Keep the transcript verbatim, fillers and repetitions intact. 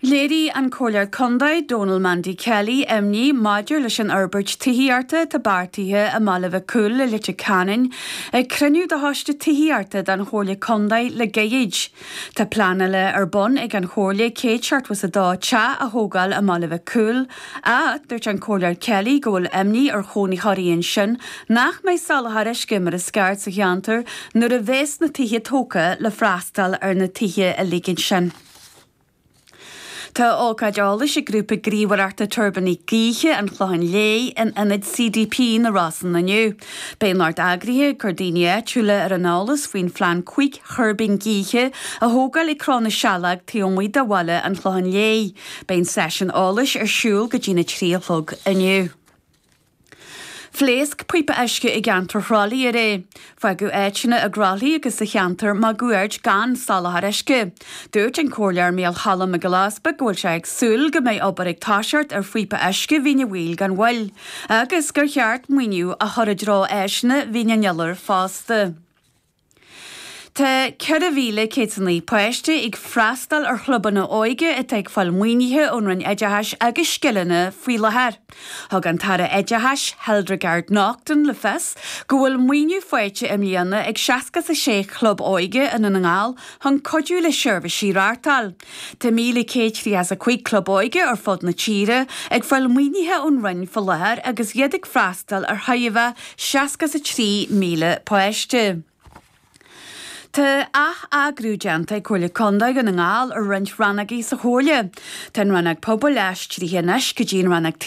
Léirigh an Comhairleoir Contae Donal Mandy Kelly imní maidir leis an fhorbairt tithíochta atá beartaithe i mBaile Mhic Cumhaill i Leitir Ceanainn ag cruinniú de choiste tithíochta den Chomhairle Contae le gairid. Tá pleanáil ar bun ag an Chomhairle céad seachtó is a dó teach a thógáil i mBaile Mhic Cumhaill ach dúirt an Comhairleoir Kelly go bhfuil imní ar chónaitheoirí ansin nach mbeidh soláthar uisce mar is ceart sa cheantar nuair a bheas na tithe tógtha le freastal ar na tithe uilig sin. Tá ócáid eolais ag grúpa gníomhaireachta tuirbíní gaoithe an Chlocháin Léith in ionad CDP na Rosann inniu. Beidh lucht eagraithe ag cur daoine áitiúla ar an eolas faoin phlean cúig thuirbín gaoithe a thógáil ag Cró na Saileog taobh amuigh de bhaile an Chlocháin Léith. Beidh an seisiún eolais ar siúl go dtí na trí a chlog inniu. Phléasc píopa uisce i gceantar Thrá Lí aréir. Fágadh áiteanna i dTrá Lí agus sa cheantar máguaird gan soláthar uisce. Dúirt an Comhairleoir Mícheál Choilm Mac Giolla Easbuig go bhfuil sé ag súil go mbeidh obair ag toiseacht ar phíopa uisce Mhín an Mhaoil gan mhoill, agus gur cheart maoiniú a chur i dtreo áiseanna Mhín an Iolair fosta. Tá ceithre mhíle céad naoi páiste ag freastal ar chlubanna óige atá ag fáil maoinithe ón Roinn Oideachais agus Scileanna faoi láthair. Thug an tAire Oideachais Hildegarde Naughton le fios go bhfuil maoiniú faighte i mbliana ag seasca a sé chlub óige i nDún na nGall chun cuidiú le seirbhísí a reáchtáil. Tá míle céad tríocha a cúig club óige ar fud na tíre ag fáil maoinithe ón Roinn faoi láthair agus iad ag freastal ar thairbhe seasca a trí míle páiste. Tá atheagrú déanta ag Comhairle Contae Dhún na nGall ar roinnt rannógaí sa Chomhairle. Tá an rannóg pobail aistrithe anois go dtí an rannóg